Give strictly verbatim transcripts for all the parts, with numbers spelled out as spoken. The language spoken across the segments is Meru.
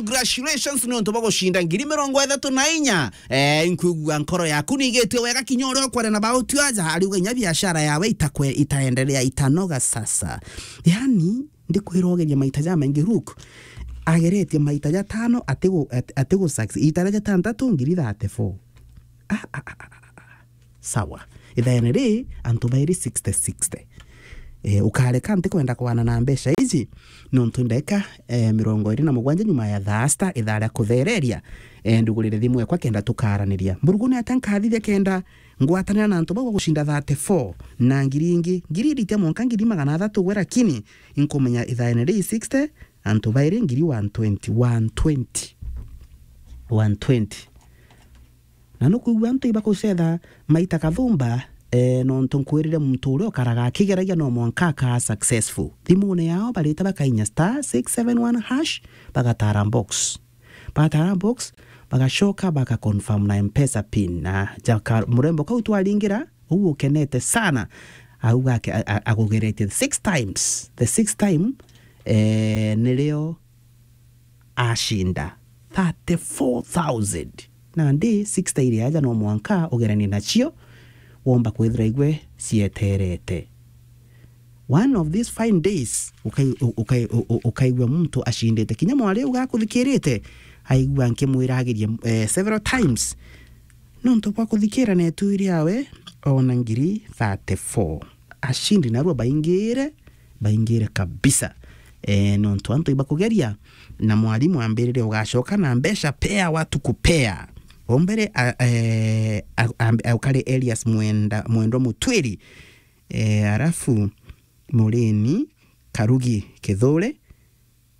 Congratulations ni untu bwa gucinda ngiri mirongo ithatu na inya. Eh, nkwigua nkoro yaku nigitie wega kinya uria ukware na bautu aja, ariuga inya biashara yawe itakwe, itaendelea, itanoga sasa. Yani, ndikwira ugeria maita jamaingi, Rook ageretie maita jatano atigu-, ati-, atigu success. Ita ria jatantatu ngiri thirty-four. Ah, ah, ah, ah, ah. Sawa. Ithaene ri, antu bairi sixty sixty. Eh, ukareka ntikwenda kwana na mbeca iji, nontu ndeka, eh, mirongo iri na mugwanja nyuma ya thaa sita, ithaa ria kuthereria, eh, ndugurire thimu ekwa kenda tukaraniria. Mburugu ni atia nkathithia kenda ngwatanira na antu bau bagucinda thirty-four na ngiri ingi, ngiri iritia mwanka ngiri magana athatu gwe, lakini inkumenya ithaene ri sixty, antu bairi ngiri one twenty, one twenty. One twenty. Na nukwigua antu ibakucetha maita kathumba, eh, nontu nkwirire muntu uria ukaraga akigeragia no mwanka akaa successful. Thimune yao barita bakainya star six seven one hash, bagatara box. Batara box, bagacoka baka confirm na M-Pesa pin. Na jaka murembo kau twaringira, uu ukenete sana, auga ake-, a-, a-, agugeretie six times. The sixth time, eh, nirio acinda thirty-four thousand. Nandi sixty iri aja no mwanka ugeranie nacio, womba kwithira igwe cieterete. One of these fine days, ukai-, u-, ukai-, u-, u-, ukaigua muntu acindite. Kinya mwari uga akuthikirite, aigua nkimwira agerie, eh, several times. Nontu bwa kuthikira netu iri awe, ona ngiri thirty-four. Acindi narua baingire, baingire kabisa. Eh, nontu antu ibakugeria, na mwarimu ambirire ugacoka na mbeca pea watu kupea. Ombere, a-, eh, a-, a-, ukari Elias Mwenda, Mwendwa Mutwiri, eh, arafu Mureni Karugi Kithure,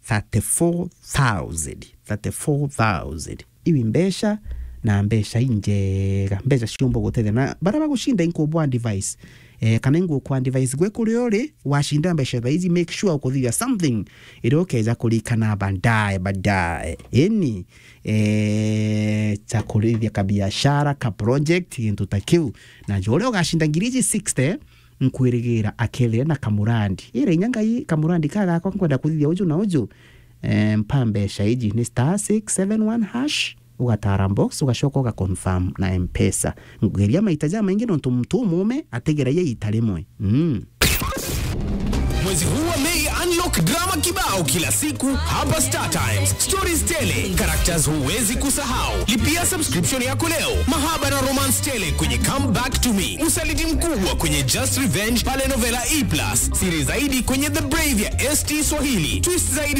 thirty-four thousand, thirty-four thousand. Iu i mbeca, na mbeca injega, mbeca ciumba gutethia. Na baria bagucinda inkubwa advice, eh, kana ingukwa advice gwe kuria uri, wacinda mbeca thaa ici, make sure ukuthithia something iria ukeja kurikana baadaye, baadaye. Ini, eh, cha kurithia kabiashara, ka project, gintu ta kiu. Na jo uria ugacinda ngiri iji sixty, nkwirigira akethire na kamurandi. Ira inya Ngai, kamurandi ka gakwa nkwenda kuthithia uju na uju. Eh, mpa mbeca iji ni star six seven one hash, ugatara box, ugacoka uga confirm na M-Pesa. Ngeria maita jamaingi nontu muntu umume ategeragia ita rimwe. Mm. Mwezi huu wa Mei, unlock drama kibao kila siku hapa Star Times. Stories tele, characters huwezi kusahau. Lipia subscription yako leo. Mahaba na romance tele kwenye Come Back to Me. Usaliti mkubwa kwenye Just Revenge pale Novela E plus. Siri zaidi kwenye The Brave ya S T Swahili. Twist zaidi